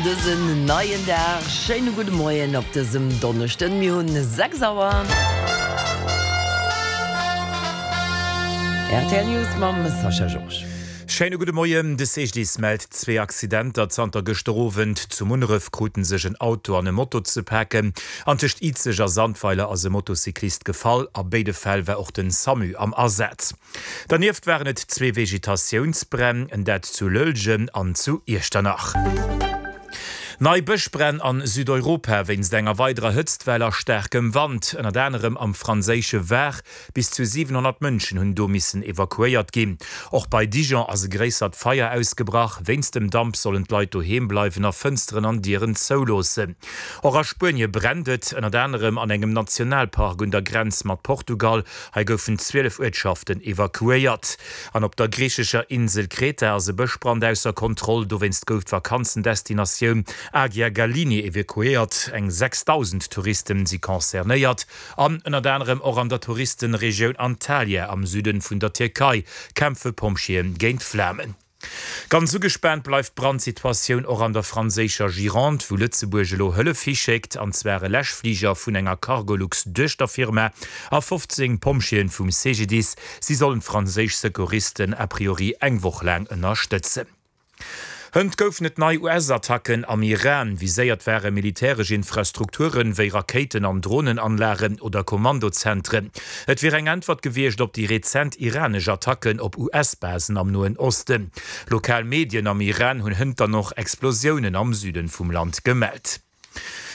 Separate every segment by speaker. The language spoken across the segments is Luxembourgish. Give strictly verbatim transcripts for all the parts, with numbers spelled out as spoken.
Speaker 1: Dësen neien Dag. Schéine gudde Moien op dësem Donneschden. Mir hunn sechs Auer. Rtl News mam Sascha Georges.
Speaker 2: Schéine gudde Moien. De C G D I S mellt zwee Accidenter zanter gëschter Owend. Zu Munneref kruten sech en Auto an e Moto ze paken. An tëscht Izeg a Sandweiler ass e Motocyclist gefall. A béide Fäll war och den SAMU am Asaz. Dernieft waren et zwee Vegetatiounsbränn, en dat zu Lëllgen an zu Iechternach. Nei Bëschbränn an Südeuropa wéinst enger weiderer Hëtztwell a staarkem Wand, ënnert anerem am franséische Var. Bis zu siwenhonnert Mënschen hunn do missen evakuéiert ginn. Och bei Dijon ass e gréissert Feier ausgebrach. Wéinst dem Damp sollen d'Leit doheem bleiwen a Fënsteren an Dieren zouloossen. Och a Spuenie brennt et, ënnert anerem an engem Nationalpark un der Grenz mat Portugal. Hei goufen zwielef Uertschaften evakuéiert. An op der griichescher Insel Kreta ass e Bëschbrand ausser Kontroll. Dowéinst gouf d'Vakanzendestinatioun Agia Galini evakuéiert. Eng sechsdausend Touristen si concernéiert. An ënnert anerem och an der Touristenregioun Antalya am Süden vun der Tierkei kämpfe Pompjeeën géint d'Flamen. Ganz ugespaant bleift d'Brandsituatioun och an der franséischer Gironde, wou Lëtzebuerg elo Hëllef hischéckt, an zwar e Läschfliger vun enger Cargolux-Duechterfirma a fofzéng Pompjeeën vum C G D I S. Si sollen d'franséisch Secouristen a priori eng Woch laang ënnerstëtzen. Hënt goufen et nei U S-Attacken am Iran. Viséiert ware militäresch Infrastrukturen, wéi Rakéiten an Dronenanlagen oder Kommandozentren. Et wier eng Äntwert gewiescht op déi rezent iranesch Attacken op U S-Basen am Noen Osten. Lokal Medien am Iran hunn hënt dann och Explosiounen am Süden vum Land gemellt.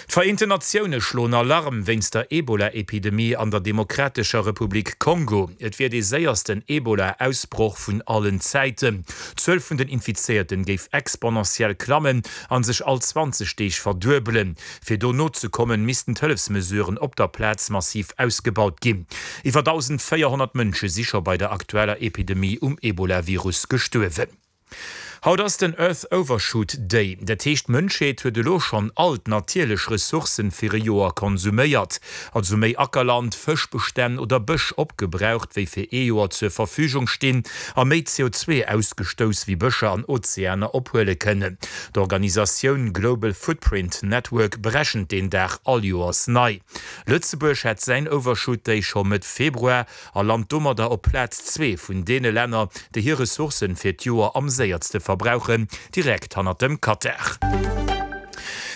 Speaker 2: D'Vereenten Natioune schloen Alarm wéinst der Ebola-Epidemie an der Demokratescher Republik Kongo. Et wier dee séiersten Ebola-Ausbroch vun allen Zäiten. D'Zuel vun den Infizéierten géif exponentiell klammen an sech all zwanzeg Deeg verduebelen. Fir do nozekommen, missten d'Hëllefsmesuren op der Plaz massiv ausgebaut ginn. Iwwer dausendvéierhonnert Mënsche si scho bei der aktueller Epidemie um Ebola-Virus gestuerwen. Haut ass den Earth Overshoot Day. Dat heescht, d'Mënschheet huet elo schonn all d'natierlech Ressourcen fir e Joer konsuméiert. Also méi Ackerland, Fëschbestänn oder Bësch opgebraucht, wéi fir ee Joer zur Verfügung stinn, a méi C O zwee ausgestouss, wéi Bëscher an Ozeaner ophuele kënnen. D'Organisatioun Global Footprint Network berechent deen Dag all Joers nei. Lëtzebuerg hat säin Overshoot Day scho Mëtt Februar a lant domadder op Plaz zwee vun deene Länner, déi hir Ressourcen fir d'Joer am séierste verbrauchen, direkt hannert dem Katar.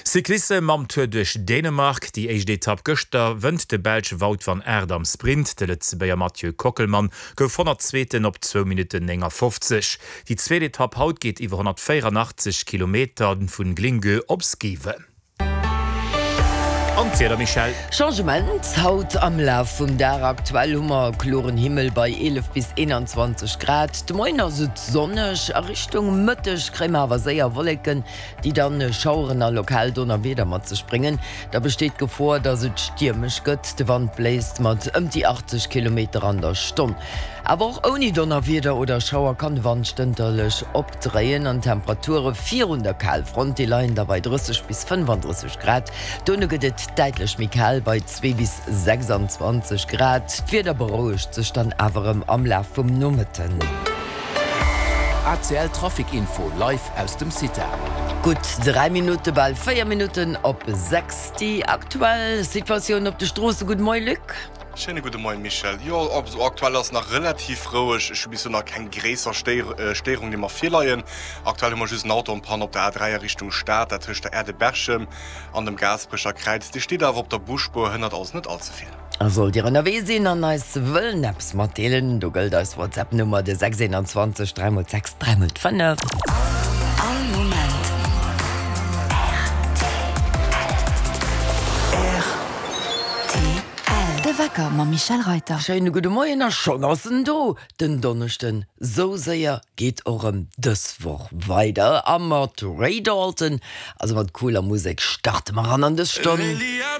Speaker 2: Cyclissem mam Tour duerch Dänemark, déi éischt Etapp gëschter, wënnt de Belsch Wout van Aert am Sprint. De Lëtzebuerger Mathieu Kockelmann gouf Honnertzweeten op zwou Minutten néngafofzeg. Déi zweet Etapp haut geet iwwer honnertvéieranachtzeg Kilometer vun Glyngøre op Skive. An d'Wieder, Michèle?
Speaker 1: Changement haut am Laf vum Dag. Aktuell hu mer kloren Himmel bei eelef bis eenanzwanzeg Grad. De Moien ass et sonneg, a Richtung Mëtteg kréie mer awer séier Wolleken, déi dann Schaueren a lokal Donnerwieder mat sech bréngen. Da besteet d'Gefor, dass et stiermesch gëtt, de Wand bléist mat ëm déi achtzeg Kilometer an der Stonn. Awer och ouni Donnerwieder oder Schauer kann de Wand stënterlech opdréien an d'Temperature virun der Kalfront, déi leien da bei drësseg bis fënnefandrësseg Grad. Dono gëtt et däitlech méi kal bei zwee bis sechsanzwanzeg Grad. D'Wieder berouegt sech dann awer erëm am Laf vum Nomëtten.
Speaker 3: A C L Trafic Info live aus dem CITA.
Speaker 1: Gutt dräi Minutte, bal véier Minutten op sechs. Déi aktuell Situatioun op de Stroosse. Gudde Moie Luc.
Speaker 4: Schéine gudde Moien Michèle. Jo, also aktuell ass nach relativ roueg. Ech hu bis elo nach keng gréisser Stéierung déi mer virleien. Aktuell hu mer just en Auto en panne op der A dräi a Richtung Stad, dat tëscht der Aire de Berchem an dem Gaasperecher Kräiz. Dee steet awer op der Busspuer, hënnert also net all ze vill.
Speaker 1: A sollt Dir ënnerwee sinn an eis wëllen eppes matdeelen, do gëllt eis WhatsApp-Nummer, de sechs eenanzwanzeg dräi mol sechs dräi mol fënnef.
Speaker 5: All Moment R T L. De Wecker mam Michèle Reyter.
Speaker 1: Schéine gudde Moien a schonn ass en do, den Donneschden. Sou séier geet och erëm dës Woch weider a mat Ray Dalton, also mat cooler Musek, starte mer an an dës Stonn.